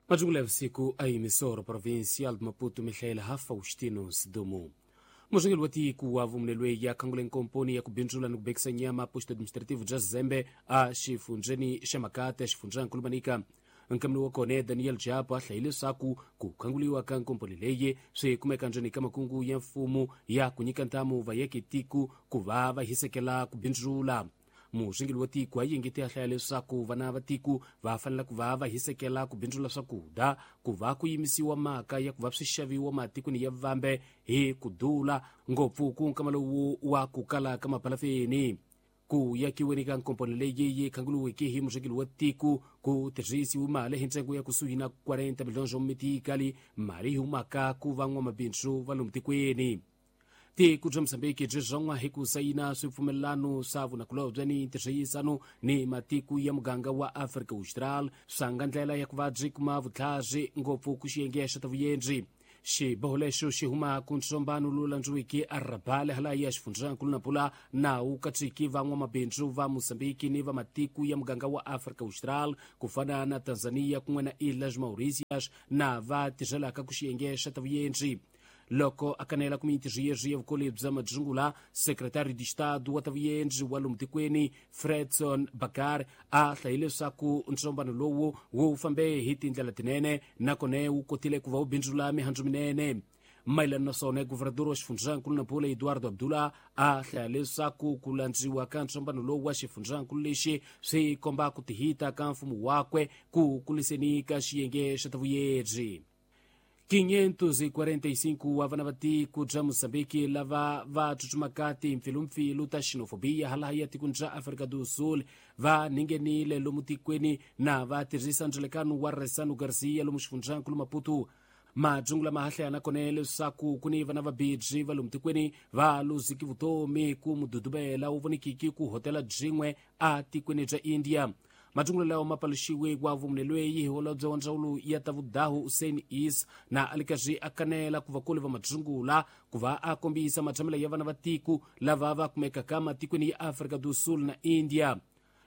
Majungula ya vusiku a Emissora Provincial de Maputo, Mihaela Faustino Sidumo. Murhangeri wa tiko wa vumunelwe ya khangule nkomponi ya ku bindzula ni ku bekisa nyama posto administrativo bya Zembe a xifundzheni xa Makate xifundzankulu Manica. Nkamelo wa kona Daniel Japo a hlayile leswaku ku khanguliwa ka nkomponi leyi swi kumeka ndzeni ka makungu ya mfumo ya ku nyika ntamu vayeke tiko ku va va hisekela ku bindzula. Murhangeri wa tiko a yingete a hlaya leswaku vana va tiko va fanele ku va va hisekela ku bindzula swakudya ku va ku yimisiwa mhaka ya ku va swi xaviwa matikweni ya vambe hi ku dula ngopfu ku nkama lowu wa ku kala ka mapalafeni. Ku yakiweni ka nkomponi leyi yi khanguliweke hi murhangeri wa tiko ku tirhisiwe mali hi ntsengo ya kusuhi na 40 miliyoni swa mitikali, mali yi humaka ku van'wamabindzu va lomu tikweni. Tiko bya Mozambiki byi zon'wa hi ku sayina swipfumelelano swa vunakulobye ni ntirhisano ni matiko ya muganga wa Afrika Austral swa nga ndlela ya ku va byi kuma vutlhari ngopfu ku xiyenge xa ta vuyendzi. Xiboho lexo xi huma ku ntsombano lowu landziweke a Rabale hala ya xifundzankulu Nampula na wu katsiki van'wamabindzu va Mozambiki ni va matiko ya muganga wa Afrika Austral ku fana na Tanzania kun'we na Ilhas Mauritius na va tirhelaka ku xiyenge xa ta vuyendzi. Loko a kanela ku mintirho ya vukoli bya madzungula, secretary de Estado wa ta vuyendzi wa lomu tikweni Fredson Bakar a hlayile leswaku ntsombano lowu wu fambe hi tindlela tinene nakona wu kotile ku va wu bindzula mihandzu minene. Mayelana na swona, guvernador wa xifundzankulu Nampula Eduardo Abdullah a hlaya leswaku ku landziwa ka ntsombano lowu wa xifundzankulu lexi swi komba ku tihita ka mfumo wakwe ku kuliseni ka xiyenge xa ta vuyedzi. 545 wa vana va tiko bya Mozambiki lava va tsutsumaka timpfilumpfilu ta xenofobia hala ya tikweni bya Afrika do Sul va ningenile lomu tikweni na va tirhisa ndzilekano wa Resano Garcia lomu xifundzankulu Maputo. Madzungula ma hahlaya nakona leswaku ku ni vana va bidzi va lomu tikweni va luziki vutomi ku mududubela wu vonikiki ku hotela byin'we a tikweni bya India. Madzungula lawa ma paluxiwe wa vumunelweyi hi holobye wa ndzawulo ya ta vudahu Hussein Is na a li karhi a kanela ku vakulu va madzungula ku va a kombisa matshamelo ya vana va tiko lava va kumekaka matikweni ya Afrika do Sul na India.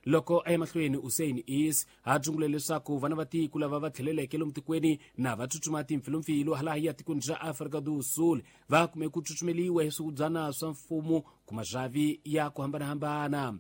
Loko a ya mahlweni, Hussein Is a dzungule leswaku vana va tiko lava va tlheleleke lomu tikweni na va tsutsuma timpfilumpfilu hala ya tikweni bya Afrika do Sul va kume ku tsutsumeliwa hi swihubyana swa mfumo ku mazhavi ya ku hambanahambana.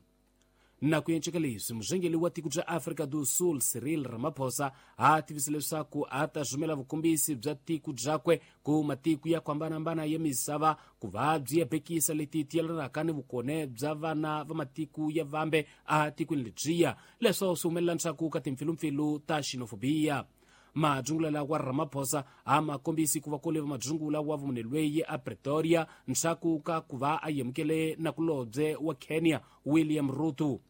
Na ku enceka leswi, murhangeri wa tiko bya Afrika do Sul Cyril Ramaphosa a tivise leswaku a ta rhumela vukombisi bya tiko byakwe ku matiko ya ku hambanahambana ya misava ku va byi ya bekisa leti ti yelanaka ni vukone bya vana va matiko ya vambe a tikweni lebyiya, leswo swi humelela ndzhaku ka timpfilumpfilu ta xenofobia. Madzungula lawa Ramaphosa a ma kombisi ku va kule va madzungula wa vumunelweyi a Pretoria ndzhaku ka ku va a yemukele nakulobye wa Kenya William Ruto.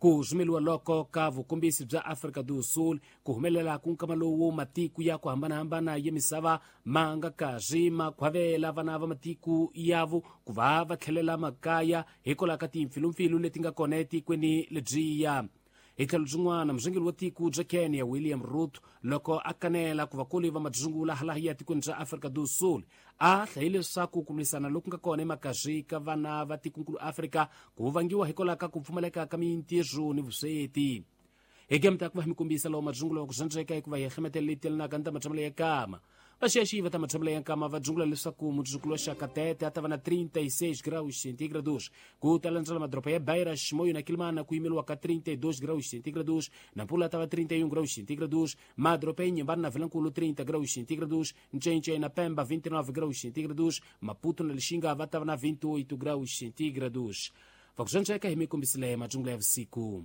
Ku rhumeliwa loko ka vukombisi bya Afrika do Sul ku humelela ku nkama lowu matiko ya ku hambanahambana ya misava ma nga karhi ma khwavela vana va matiko yavo ku va va tlhelela makaya hikwalaho ka timpfilumpfilu leti nga kona etikweni lebyiya. Hi tlhelo byin'wana, murhangeri wa tiko bya Kenya William Ruto loko a kanela ku vakulu va madzungula hala ya tikweni bya Afrika do Sul a hlayile leswaku ku lwisana loku nga kona emakazwi ka vana va tikonkulu Afrika ku vangiwa hikwalaho ka ku pfumaleka ka mintirho ni vusweti. Hi game ta ku va hi mi kombisa lawa madzungula wa ku zwandzeka hikuva hi hlemetela leti yelanaka ni ta matshamelo ya kama. Vaxexi va ta matshamelo ya nkama va dzungula leswaku mudzukulu wa xaka Tete a ta va na 36 graus centígrados, ku ta landzela madoroba ya Beira, Chimoio na Quelimane ku yimeriwa ka 32 graus centígrados, Nampula ta va 31 graus centígrados, madoroba ya Inhambane na Vilankulu 30 graus centígrados, Ncencei na Pemba 29 graus centígrados, Maputo na Lixinga va ta va na 28 graus centígrados. Va ku zwandzeka hi mi kombisile madzungula ya vusiku.